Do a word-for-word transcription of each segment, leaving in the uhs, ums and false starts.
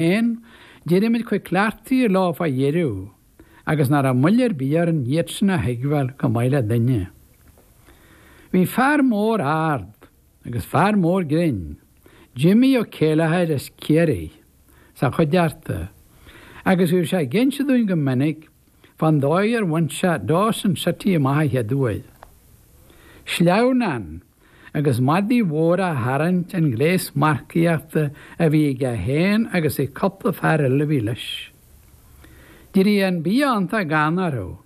féin, d'éirigh muid chomh cleachtaithe leo fá dheireadh agus nach raibh moill ar bith orainn iad sin a thuigbheáil chomh maith le duine. Bhí fear mór ard agus fear mór grinn, Jimmy Ó Céilleachair as Ciarraí, sa chuideachta agus bhíodh sé ag inse dúinn go minic fán dóigh ar bhain sé Dawson City amach a chéaduair. Sleamhnán agus madaí mhóra á tharraingt an gléas marcaíochta a bhí aige féin agus ag cúpla fear eile a bhí leis. D'éirigh an bia iontach gann orthu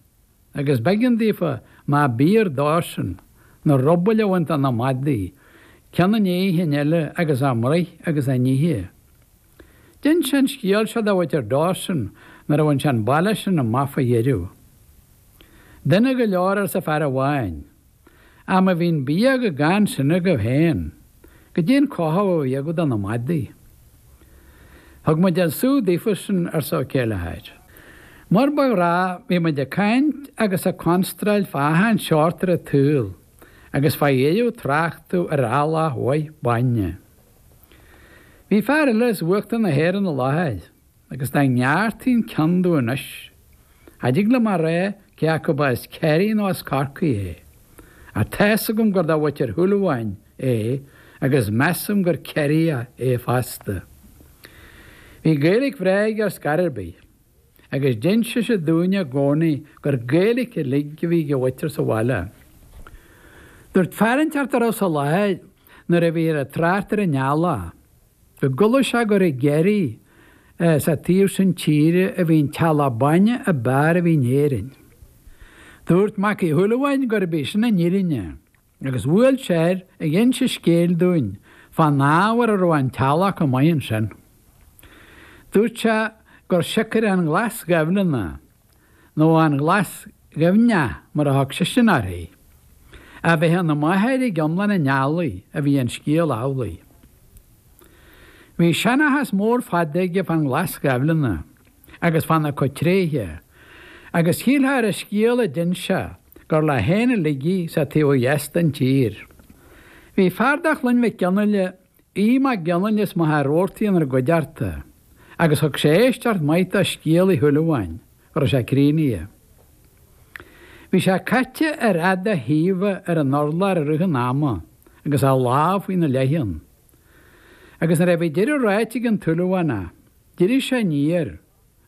agus b'éigean daofa má b'fhíor dósan, na rubaill a bhaint de na madaí, ceann i ndiaidh an chinn eile agus á mbruith agus á n-ithe. D'inis sé an scéal seo do mhuintir Dawson nuair a bhain sé an baile sin amach fá dheireadh. Dona go leor arsa fear amháin, ach má bhíonn bia chomh gann sin agaibh féin, goidé an cothú a bhí agaibh do na madaí? Thug muid an sú daofa sin, arsa Ó Céilleachair. Mar ba ghnách, bhí muid ag caint agus ag constráil fá achan seort ar an tsaol agus fá dheireadh tráchtadh ar eallach mhaith bainne. Bhí fear eile as uachtar na hÉireann i láthair agus dá ngearrtaí an ceann domh anois, cha dtig liom a rá cé acu ba as Ciarraí nó as Corcaigh é. Ach tá's agam gur de mhuintir Shúilleabháin é agus measaim gur Ciarraíoch é fosta. Bhí Gaeilge bhreá aige ar scor ar bith agus d'inseadh sé dúinne i gcónaí gur Gaeilge uilig a bhí ag a mhuintir sa bhaile. Dúirt fear inteacht a raibh sa láthair nuair a bhíothar ag trácht ar an eallach, go gcuala sé gur i gCiarraí sa taobh sin tíre a bhí an t-eallach bainne ab fhearr a bhí in Éirinn. Dúirt Mac Uí Shúilleabháin gurb í sin an fhírinne agus bhuail sé air ag inse scéil dúinn fán ábhar a raibh an t-eallach chomh maith ansin. Dúirt sé gur siocair an ghlas ghaibhleanna, nó an ghlas ghaibhneach mar a thug seisean uirthi, a bheith ina máthair ag iomlán an eallaigh a bhí an scéal amhlaidh. Bhí seanchas mór fada aige fán ghlas ghaibhleanna agus fána cuid tréithe, agus shílfeá ar an scéal a d'inis sé gur leis féin uilig í sa taobh ó dheas den tír. Bhí fear de chlann Mhic Fhionnghaile, Aodh Mac Fhionnghaile as Machaire Rabhartaigh inár gcuideachta, agus thug sé éisteacht mhaith do scéal Uí Shúilleabháin, go raibh sé críochnaithe. Bhí sé caite ar fhad a thaoibhe ar an urlár i rith an ama agus a lámh faoina leitheann. Agus nuair a bhí deireadh ráite ag an tSúilleabhánach, d'éirigh sé aniar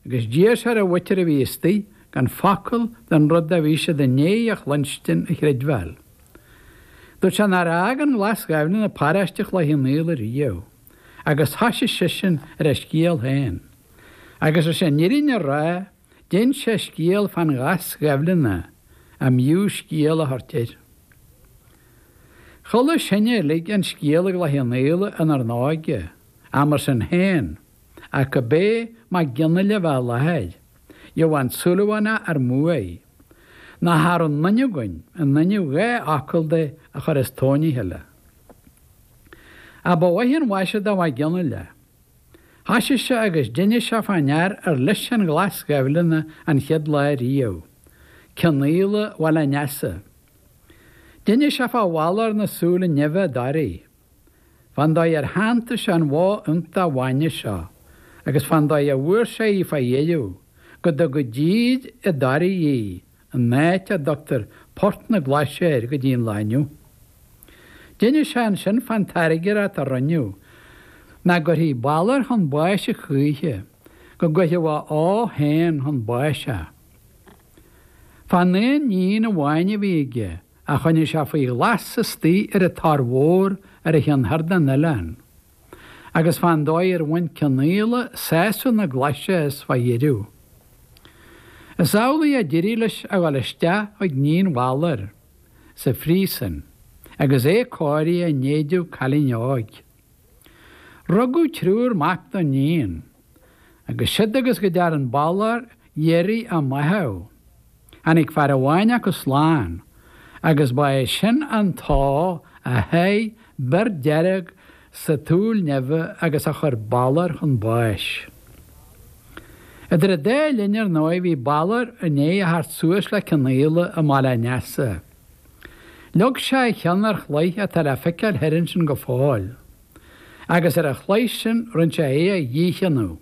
agus d'iarr sé ar a mhuintir a bhí istigh gan focal den rud a bhí siad i ndiaidh a chluinstin a chreidbheáil. Dúirt sé nár fhág an ghlas ghaibhleanna paróiste Chloich Cheann Fhaola riamh, agus thoisigh seisean ar a scéal féin. Agus leis an fhírinne a rá, d'inis sé scéal fán ghlas ghaibhleanna, a mb'fhiú scéal a thabhairt air. Chuala sinne uilig an scéal i gCloich Cheann Fhaola inár n-óige, ach mar sin féin, ach gurb é Mac Fhionnghaile a bheith i láthair, gheobhadh an Súilleabhánach ár mbuaidh, ná cha raibh aon duine againn in innimh dhá fhocal de a chur as tóin a chéile. Ach ba mhaith an mhaise do Mhac Fhionnghaile. Thoisigh sé agus d'inis sé fán fhear ar loisc an ghlas ghaibhleanna an chéad lá riamh, Cionnaola Bhaile an Easa. D'inis sé fá Bhalor na Súile Neimhe i dToraigh, fán dóigh ar shantaigh sé an bhó iontach bhainne seo agus fán dóigh a bhfuair sé í fá dheireadh, go dtugadh dtír i dToraigh í, an áit a dtugtar Port na Glaise air go dtí an lá inniu. D'inis sé ansin fán tairngreacht a rinneadh, nach gcuirfí Balor chun báis a choíche, go gcuirfeadh a ó féin chun báis é. Fán aon níon amháin a bhí aige, a choinnigh sé faoi ghlas istigh ar an Tor Mhór ar an cheann thoir den oileán, agus fán dóigh ar bhain Cionnaola sásamh na glaise as fá dheireadh. Is amhlaidh a d'éirigh leis a dhul isteach chuig níon Bhaloir sa phríosún agus é cóirithe in éideadh cailín óig. Rugadh triúr mac don níon, agus siod agus go dtearn Balor iarraidh á maitheamh. Tháinig fear amháin acu slán, agus ba é sin an t-ádh a sháigh bior dearg sa tsúil neimhe agus a chuir Balor chun báis. Idir an dá linn ar ndóigh bhí Balor i ndiaidh a theacht suas le Cionnaola i mBaile an Easa. Leag sé a cheann ar chloich atá le feiceáil thoir ansin go fóill, agus ar an chloich sin rinne sé é a dhícheannadh.